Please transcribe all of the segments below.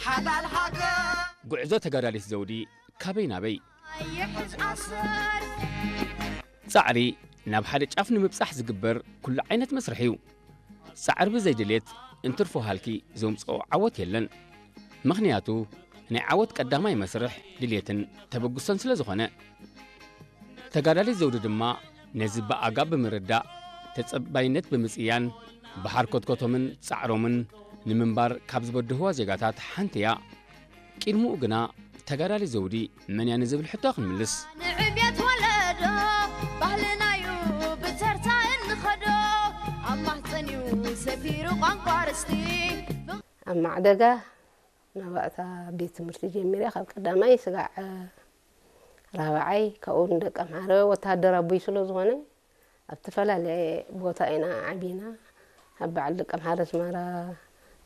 ሓላል ሃገር ጉዕዞ ተጋዳሊት ዘውዲ ካበይ ናበይ? ይሕዝ ኣሰር ጻዕሪ ናብ ሓደ ጫፍ ንምብጻሕ ዝግበር ኩሉ ዓይነት መስርሕ እዩ። ጻዕሪ ብዘይ ድሌት እንትርፎ ሃልኪ ዘምጽኦ ዓወት የለን። ምኽንያቱ ናይ ዓወት ቀዳማይ መስርሕ ድሌትን ተበግሶን ስለ ዝኾነ። ተጋዳሊት ዘውዲ ድማ ነዚ ብኣጋ ብምርዳእ ተጸባይነት ብምጽያን ብሓርኮትኮቶምን ጻዕሮምን ንምንባር ካብ ዝበድህዋ ዜጋታት ሓንቲ እያ። ቅድሚኡ ግና ተጋዳሊት ዘውዲ መን እያ ንዝብል ሕቶ ክንምልስ። ንዕብየት ወለዶ ባህልናዩ ብተርታ እንኸዶ ኣብ ማህፀንዩ ሰፊሩ ቋንቋ ርስቲ ኣብ ማዕደጋ ናባእታ ቤት ትምህርቲ ጀሚረ ካብ ቀዳማይ ስጋዕ ራብዓይ ካብኡ ንደቂ ኣምሓረ ወተሃደር ኣቦይ ስለ ዝኾነ ኣብ ዝተፈላለየ ቦታ ኢና ዓቢና ኣብ በዓል ደቂ ኣምሓረ ኣስመራ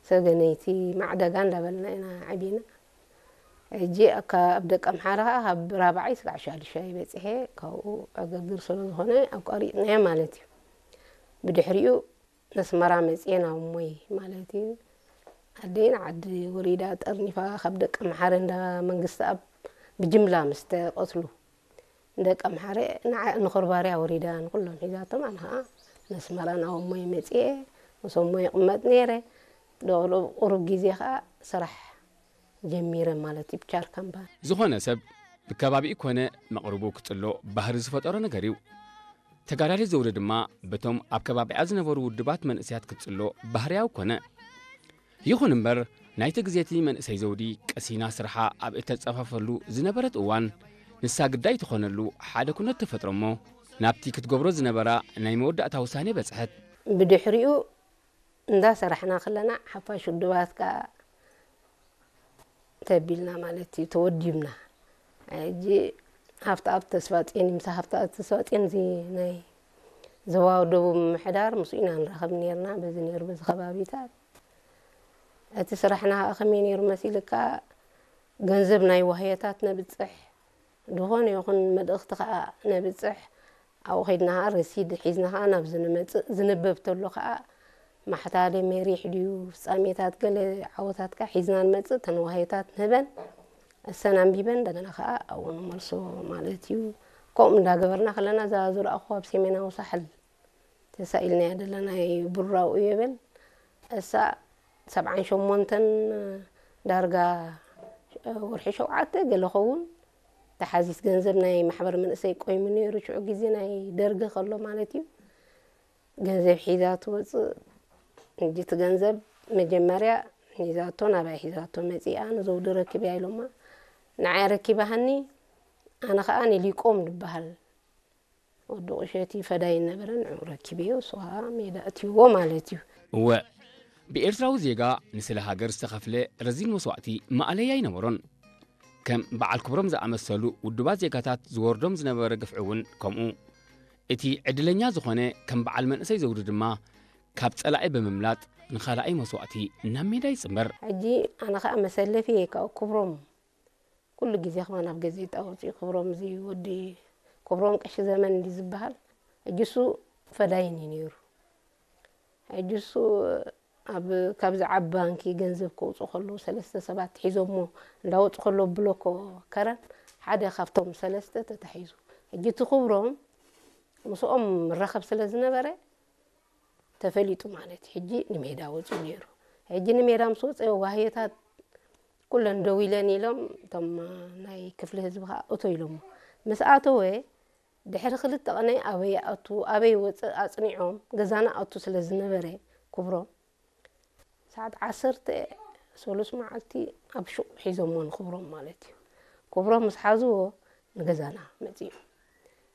ሰገነይቲ ማዕደጋ እንዳበልና ኢና ዓቢና ሕጂ ካብ ደቂ ኣምሓረ ከዓ ካብ ራብዓይ ስጋዕ ሻድሻይ በፂሐ ካብኡ ዕግርግር ስለ ዝኾነ ኣቋሪፅናዮ ማለት እዩ ብድሕሪኡ ነስመራ መፅኤ ናብ እሞይ ማለት እዩ ኣደይ ንዓዲ ወሪዳ ጠርኒፋ ካብ ደቂ ኣምሓረ እንዳ መንግስቲ ኣብ ብጅምላ ምስ ተቐትሉ ንደቂ ኣምሓረ ንዓ ንኾርባርያ ወሪዳ ንኩሎም ሒዛቶም ኣነ ከዓ ነስመራ ናብ እሞይ መፅኤ ምስ እሞይ ይቕመጥ ነይረ ደቕሉ ቁሩብ ግዜ ከዓ ስራሕ ጀሚረ ማለት እዩ ብቻር ካምፓኒ ዝኾነ ሰብ ብከባቢኡ ኮነ መቕርቡ ክጽሎ ባህሪ ዝፈጠሮ ነገር እዩ። ተጋዳሊት ዘውዲ ድማ በቶም ኣብ ከባቢኣ ዝነበሩ ውድባት መንእሰያት ክትጽሎ ባህርያዊ ኮነ። ይኹን እምበር ናይቲ ግዜቲ መንእሰይ ዘውዲ ቀሲና ስርሓ ኣብ እተጸፋፈሉ ዝነበረት እዋን ንሳ ግዳይ ትኾነሉ ሓደ ኩነት ተፈጥሮ እሞ ናብቲ ክትገብሮ ዝነበራ ናይ መወዳእታ ውሳኔ በጽሐት። ብድሕሪኡ እንዳሰራሕና ከለና ሓፋሽ ውድባት ከዓ ተቢልና ማለት እዩ ተወዲብና ሕጂ ሃፍተኣብ ተስፋፅዮን እዩ ምሳ ሃፍተኣብ ተስፋፅዮን እዚ ናይ ዞባ ደቡብ ምምሕዳር ምስኡ ኢና ንራኸብ ነርና በዚ ነይሩ በዚ ከባቢታት እቲ ስራሕና ከዓ ከመይ ነይሩ መሲልካ ገንዘብ ናይ ዋህዮታት ነብፅሕ ዝኾነ ይኹን መልእኽቲ ከዓ ነብፅሕ ኣብኡ ከይድና ከዓ ረሲድ ሒዝና ከዓ ናብ ዝንመፅእ ዝንበብ ተሎ ከዓ ማሕታለ መሪሕ ድዩ ፍፃሜታት ገለ ዓወታትካ ሒዝና ንመፅእ ተነዋህዮታት ንህበን እሰን ኣንቢበን እንደገና ከዓ ኣብኡ ንመልሶ ማለት እዩ ከምኡ እንዳገበርና ከለና እዛ ዝረኣኹ ኣብ ሰሜናዊ ሳሕል ተሳኢልናያ ዘለና ናይ ቡራኡ የበል እሳ ሰብዓን ሸሞንተን ዳርጋ ወርሒ ሸውዓተ ገለ ኸውን ተሓዚት ገንዘብ ናይ ማሕበር መንእሰይ ቆይሙ ነይሩ ሽዑ ግዜ ናይ ደርጊ ከሎ ማለት እዩ ገንዘብ ሒዛ ትወፅእ ሕጂ እቲ ገንዘብ መጀመርያ ሒዛቶ ናባይ ሒዛቶ መፂኣ ንዘውዲ ረኪብያ ኢሎማ ንዓይ ረኪባሃኒ ኣነ ከዓ ንሊቆም ዝበሃል ወዲ ቁሸቲ ፈዳይ ነበረ ንዑ ረኪበዮ እሱ ከዓ ሜዳ እትይዎ ማለት እዩ እወ ብኤርትራዊ ዜጋ ንስለ ሃገር ዝተኸፍለ ረዚን መስዋእቲ ማእለያ ኣይነበሮን ከም በዓል ክብሮም ዝኣመሰሉ ውዱባት ዜጋታት ዝወርዶም ዝነበረ ግፍዒ እውን ከምኡ እቲ ዕድለኛ ዝኾነ ከም በዓል መንእሰይ ዘውዲ ድማ ካብ ጸላኢ ብምምላጥ ንኻልኣይ መስዋእቲ ናብ ሜዳ ይጽንበር ሕጂ ኣነ ከዓ መሰለፊ ካብ ክብሮም ኩሉ ግዜ ከማን ኣብ ገዜጣ ወፂኡ ክብሮም እዚ ወዲ ክብሮም ቀሺ ዘመን እንዲ ዝበሃል ሕጂ እሱ ፈዳይን እዩ ነይሩ ሕጂ እሱ ኣብ ካብዚ ዓብ ባንኪ ገንዘብ ከውፅኡ ከለዉ ሰለስተ ሰባት ሒዞሞ እንዳወፁ ከለዉ ብሎኮ ከረን ሓደ ካብቶም ሰለስተ ተታሒዙ ሕጂ እቲ ክብሮም ምስኦም ምራኸብ ስለ ዝነበረ ተፈሊጡ ማለት እዩ ሕጂ ንሜዳ ወፂኡ ነይሩ ሕጂ ንሜዳ ምስ ወፀ ዋህዮታት ኩለን ደው ኢለን ኢሎም እቶም ናይ ክፍሊ ህዝቢ ከዓ እቶ ኢሎሞ ምስ ኣተወ ድሕሪ ክልተ ቀነ ኣበይ ኣቱ ኣበይ ወፅእ ኣፅኒዖም ገዛና ኣቱ ስለ ዝነበረ ክብሮም ሰዓት ዓሰርተ ሰሉስ መዓልቲ ኣብ ሹቕ ሒዞሞ ንክብሮም ማለት እዩ ክብሮም ምስ ሓዝዎ ንገዛና መፅኡ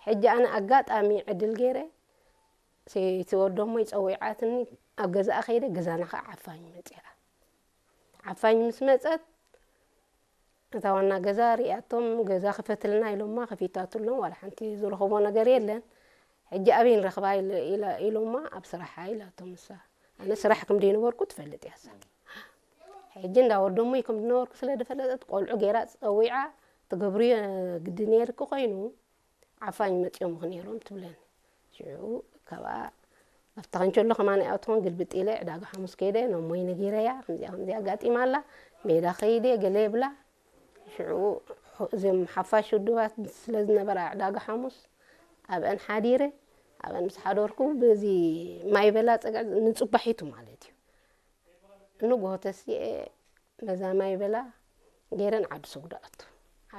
ሕጂ ኣነ ኣጋጣሚ ዕድል ገይረ ሰይቲ ወዶሞ ይፀዊዓትኒ ኣብ ገዛኣ ከይደ ገዛና ከዓ ዓፋኝ መፅኣ ዓፋኝ ምስ መፀት እታ ዋና ገዛ ሪኣቶም ገዛ ክፈትልና ኢሎማ ከፊታትሎም ዋላ ሓንቲ ዝረኸቦ ነገር የለን ሕጂ ኣበይ ንረኽባ ኢሎማ ኣብ ስራሓ ኢላቶም ንሳ ኣነ ስራሕ ከም ዘይነበርኩ ትፈልጥ እያ እሳ ሕጂ እንዳ ወዶሞይ ከም ዝነበርኩ ስለ ዝፈለጠት ቆልዑ ገይራ ፀዊዓ ትገብርዮ ግዲ ነይርኪ ኮይኑ ዓፋኝ መፂኦምኺ ነይሮም ትብለኒ ሽዑ ካብኣ ኣብታ ከንቸሎ ከማን ይኣትኹን ግልብጥ ኢለ ዕዳጋ ሓሙስ ከይደ ነሞይ ነጊረያ ከምዚኣ ከምዚኣ ኣጋጢማ ኣላ ሜዳ ከይደ ገለ የብላ። ሽዑ እዞም ሓፋሽ ውድባት ስለ ዝነበራ ዕዳጋ ሓሙስ ኣብአን ሓዲረ። ኣብአን ምስ ሓደርኩ በዚ ማይ በላ ፀግዒ ንፅባሒቱ ማለት እዩ። ንጎሆ ተሲኤ በዛ ማይ በላ ገይረን ዓዲ ሰጉዶ ኣቱ።